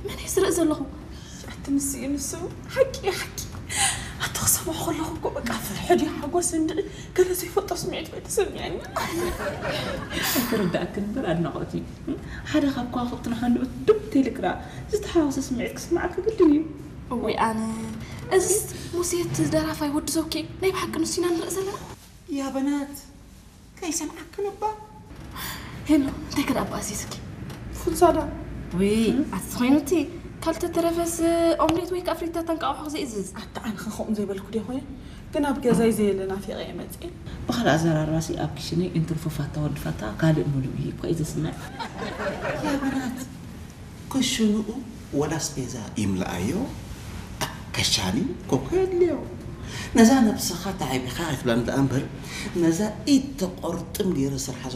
መን እየ ዝርኢ ዘለኹ? ኣቲ ንስ እዩ ንሱ። ሓቂ ሓቂ። ኣቲ ክሰምዖ ከለኹ እኮ በቃ ፍርሒ ድዩ ሓጎስ እንድዒ፣ ገለ ዘይፈልጦ ስምዒት ወይ ተሰሚዐኒ። ኣይተረዳእክን እምበር ኣድናቖት እዩ። ሓደ ካብ ከዋኽብትና ሃንደበት ዱብ ተይልክራ ዝተሓዋወሰ ስምዒት ክስምዓካ ግድን እዩ። እወይ ኣነ፣ እዚስ ሙሴ እቲ ደራፋይ ወዲ ዘውኪ ናይ ብሓቂ ንሱ ኢና ንርኢ ዘለና። ያ በናት ከይሰምዓክን እባ። ሄሎ፣ እንታይ ከዳ ኣባእሲስኪ? ፉንሳዳ። ወይ ኣቲ ዝኾይኑ እቲ ካልተ ተረፈስ ኦምሌት ወይ ከዓ ፍሪታ ተንቃቑሖ ዘይእዝዝ። ኣታ ኣነ ከ ከምኡ ዘይበልኩ ደ ኮይነ፣ ግን ኣብ ገዛይ ዘየለ ናፊቐ እየ መፅእ። ብኻልእ ኣዘራርባሲ ኣብ ክሽነይ እንትርፎ ፋታ ወዲ ፋታ ካልእ ሙሉእ እዩ እኮ እዩ ዘስምዕ። ያ በናት ክሽንኡ ወላ ኣስቤዛ ይምልኣዮ፣ ከሻኒ ኮኮ የድልዮ። ነዛ ነብስኻ ተዓቢኻ ኣይትብላን ደኣ እምበር፣ ነዛ ኢድ ተቆርጥም ገይረ ስርሓ